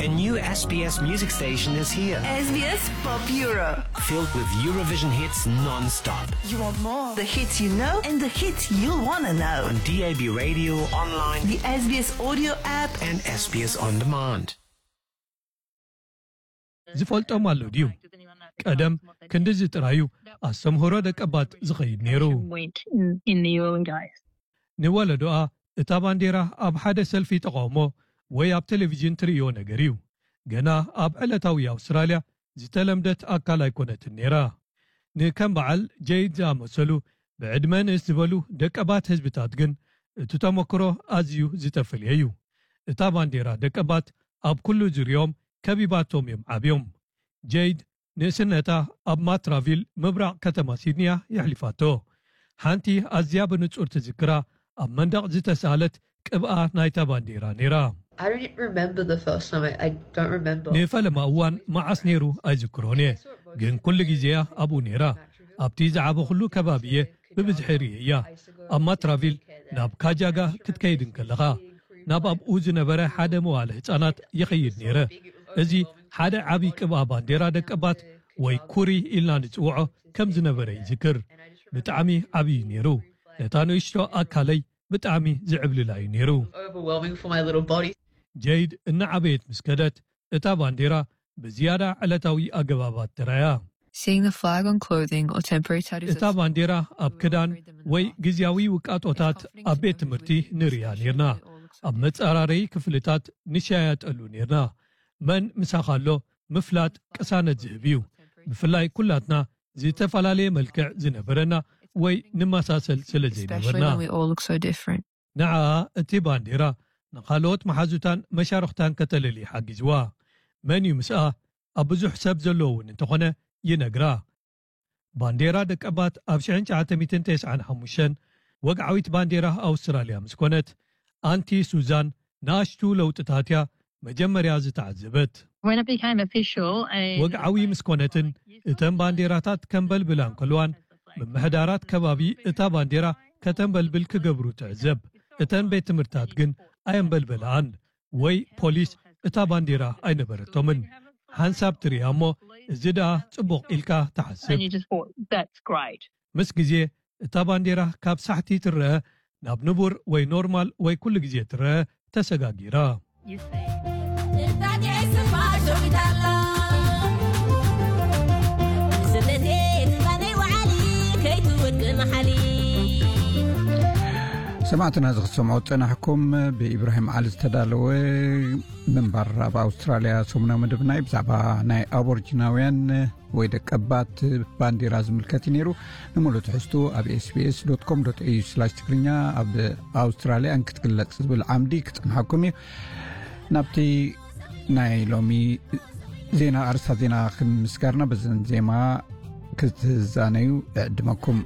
A new S B S music station is here. S B S Pop Euro. Filled with Eurovision hits non-stop. You want more? The hits you know and the hits you'll want to know. On D A B radio, online. The S B S audio app. And S B S on demand. ዝፈልጦም ኣሎ ድዩ? ቀደም ክንድዚ ጥራዩ ኣስተምህሮ ደቀባት ዝኸይድ ነይሩ። Went in, in the early days. ንወለዶኣ እታ ባንዴራ ኣብ ሓደ ሰልፊ ተቓውሞ ወይ ኣብ ቴሌቪዥን ትርእዮ ነገር እዩ። ገና ኣብ ዕለታዊ ኣውስትራልያ ዝተለምደት ኣካል ኣይኮነትን ነይራ። ንከም በዓል ጀይድ ዝኣመሰሉ ብዕድመ ንእስ ዝበሉ ደቀባት ህዝብታት ግን እቲ ተመክሮ ኣዝዩ ዝተፈልየ እዩ። እታ ባንዴራ ደቀባት ኣብ ኩሉ ዙርዮም ከቢባቶም እዮም ዓብዮም። ጀይድ ንእስነታ ኣብ ማትራቪል ምብራቕ ከተማ ሲድኒያ የሕሊፋቶ። ሓንቲ ኣዝያ ብንጹር ትዝክራ ኣብ መንደቕ ዝተሳለት ቅብኣ ናይታ ባንዴራ ነይራ። I don't remember the first time. I, I don't remember. ንፈለማ እዋን መዓስ ነይሩ ኣይዝክሮን እየ፣ ግን ኩሉ ግዜያ ኣብኡ ነይራ። ኣብቲ ዝዓበኹሉ ከባቢ እየ ብብዝሒ ርእየያ። ኣብ ማትራቪል ናብ ካጃጋ ክትከይድ እንከለኻ ናብ ኣብኡ ዝነበረ ሓደ መዋለ ህጻናት ይኸይድ ነይረ። እዚ ሓደ ዓቢ ቅብኣ ባንዴራ ደቀባት ወይ ኩሪ ኢልና ንጽውዖ ከም ዝነበረ ይዝክር። ብጣዕሚ ዓብዪ ነይሩ። ነታ ንእሽቶ ኣካለይ ብጣዕሚ ዝዕብልላ እዩ ነይሩ። Overwhelming for my little body. ጀይድ እናዓበየት ምስ ከደት እታ ባንዴራ ብዝያዳ ዕለታዊ ኣገባባት ተራያ። Seeing the flag on clothing or temporary tattoos እታ ባንዴራ ኣብ ክዳን ወይ ግዝያዊ ውቃጦታት ኣብ ቤት ትምህርቲ ንርእያ ነይርና። ኣብ መጻራረይ ክፍልታት ንሻያጠሉ ነይርና። መን ምሳኻ ኣሎ ምፍላጥ ቅሳነት ዝህብ እዩ። ብፍላይ ኩላትና ዝተፈላለየ መልክዕ ዝነበረና ወይ ንመሳሰል ስለ especially ዘይነበርና። When we all look so different. ንዓኣ እቲ ባንዴራ ንኻልኦት መሓዙታን መሻርኽታን ከተለሊ ሓጊዝዋ። መን እዩ ምስኣ ኣብ ብዙሕ ሰብ ዘለዎ እውን እንተኾነ ይነግራ። ባንዴራ ደቀባት ኣብ ሽሕን ትሽዓተ ሚእትን ተስዓን ሓሙሽተን ወግዓዊት ባንዴራ ኣውስትራልያ ምስ ኮነት፣ ኣንቲ ሱዛን ንኣሽቱ ለውጥታት እያ መጀመርያ ዝተዓዘበት። When it became official, and ወግዓዊ ምስ ኮነትን እተን ባንዴራታት ከንበልብላ እንከልዋን፣ ምምሕዳራት ከባቢ እታ ባንዴራ ከተንበልብል ክገብሩ ትዕዘብ። እተን ቤት ትምህርታት ግን ኣየንበልበላኣን ወይ ፖሊስ እታ ባንዴራ ኣይነበረቶምን። ሓንሳብ ትርእያ እሞ፣ እዚ ደኣ ጽቡቕ ኢልካ ትሓስብ። And you just thought, "That's great." ምስ ግዜ እታ ባንዴራ ካብ ሳሕቲ ትረአ ናብ ንቡር ወይ ኖርማል ወይ ኩሉ ግዜ ትረአ ተሰጋጊራ። ሰማዕትና፣ እዚ ክትሰምዑ ዝጸናሕኩም ብኢብራሂም ዓሊ ዝተዳለወ ምንባር ኣብ ኣውስትራልያ ሰሙናዊ መደብና እዩ። ብዛዕባ ናይ ኣቦርጂናውያን ወይ ደቀባት ባንዴራ ዝምልከት እዩ ነይሩ። ንምሉእ ትሕዝቱ ኣብ ኤስቢኤስ ዶት ኮም ዶት ኤዩ ስላሽ ትግርኛ፣ ኣብ ኣውስትራልያ እንክትግለጽ ዝብል ዓምዲ ክጸንሓኩም እዩ። ናብቲ ናይ ሎሚ ዜና፣ ኣርእስታት ዜና ክንምስጋርና፣ በዘን ዜማ ክትዛነዩ እዕድመኩም።